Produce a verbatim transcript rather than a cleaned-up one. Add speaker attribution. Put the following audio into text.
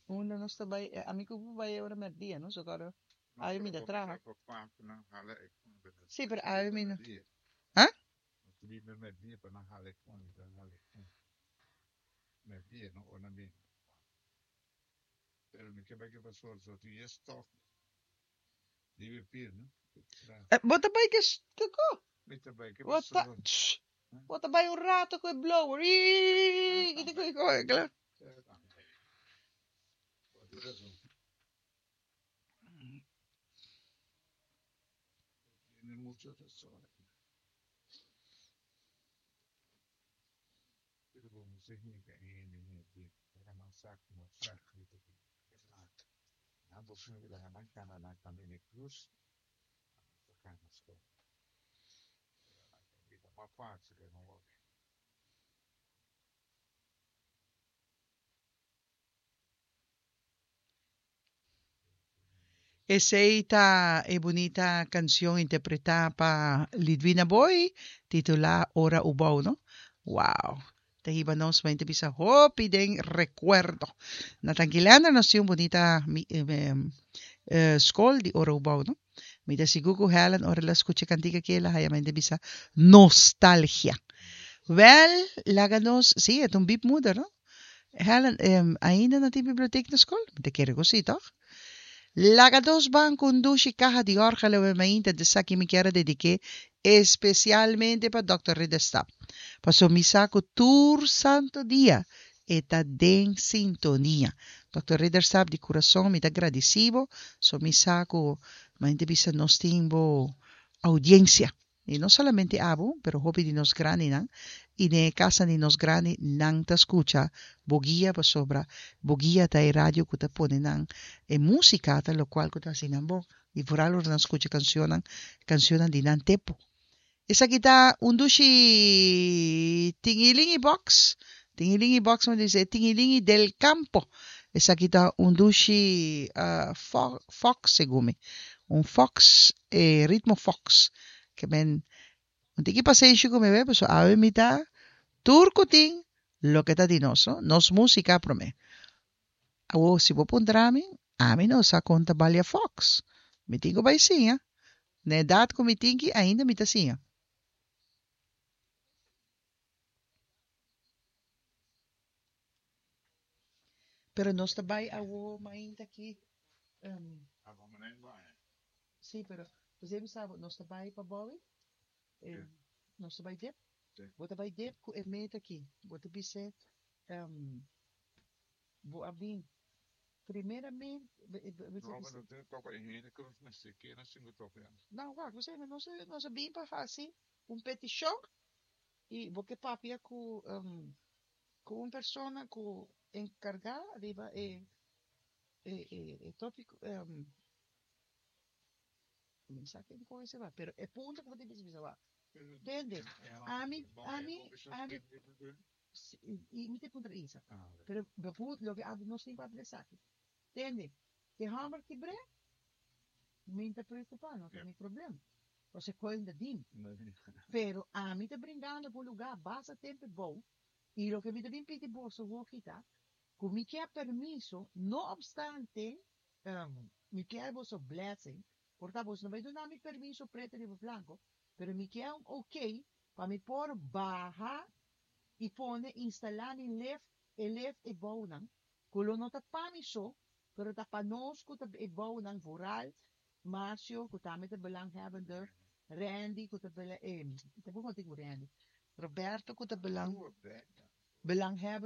Speaker 1: Unda nos ta bai? Ami ku bo bai ora merdia, no? So kòrda awe mi ta traha. Sí, pero awe mi no. Ha? Bo ta bai ke kiko? Bo ta bo ta bai un rato ku e blower. Iiii kiko? Esey ta e bunita cancion interpreta pa Lidwina Booi, titula Ora Ubou, no? Wow! Ta hiba nos mente bisa hopi den recuerdo. Na Tanki Leander nos tin un bunita scol di Ora Ubou, no? Mi ta sigur cu Helen ora el a scucha e cantica aki el a haya mente bisa nostalgia. Wel, laga nos, si, e ta un biepmoeder, no? Helen, ainda no tin bibliotek na skol? Mi ta kere ku si, tòg? Laga dos ban ku un dushi kaha di òrgel awe mainta di esaki mi kier a dedik'é espesialmente pa Dòkter Ridderstap, pasobra mi sa ku tur santu dia e ta den sintonia. Dòkter Ridderstap, di kurason mi ta gradisí bo, so mi sa ku mainta bisa nos tin bo oudiensia. I no solamente abo, pero hopi di nos grandinan, i den e kasanan di nos grandi nan ta skucha bo guia pasobra bo guia ta e radio ku ta pone nan e músika ta lokual ku ta hasi nan bon i vooral ora nan skucha kanshonnan, kanshonnan di nan tempu. Esaki ta un dushi Tingilingi Box, Tingilingi Box mi ta bisa e Tingilingi del Campo. Esaki ta un dushi fox segun mi, un fox, e ritmo fox. Ke men un tiki pasenshi ku mi web, pasobra awe mi ta tur ku tin loke ta di nos, no? Nos músika promé. Awor si bo puntra mi, ami no sa kon ta balia fox. Mi tin ku bai siña. Na edat ku mi tin ki ainda mi ta siña. Pero nos ta bai awor mainta aki. Um, sí, pero pues mi sa nos ta bai pa Bowie. Eh, nos ta bai dip. Bo ta bai dip ku e meta aki. Bo ta bisa um, bo a bin primeramente. No, wak, bo nos nos a bin pa hasi un petishon i bo ke papia ku um, ku un persona ku enkargá riba e e e, e tópiko um, mi sa ken kon esei pero e punto ku bo tin bisa wak. Tende, ami ami ami i mi te puntra Isa. Pero bijvoorbeeld loke abo nos tin pa esaki. Tende, ke hòmber kibr'é, mi ta preokupá, no ta mi problema. Pasobra koi ta dim. Pero ami ta bringando pa un lugá basta tempu bou i loke mi ta bin pidi boso hopi ta ku mi ke permiso, no obstante, um, mi ke boso blessing, por ta boso no bai duna mi permiso pretu riba blanko, pero mi ke un ok pa mi por baha i pone instalá mi lift, e lift e bounan, ku lo no ta pa mi so, pero ta pa nos ku ta e bounan vooral Marcio, ku tambe ta belanghebbende, Randy, ku ta bela, eh, ta kon ku Randy, Roberto ku ta belang, belanghebbende.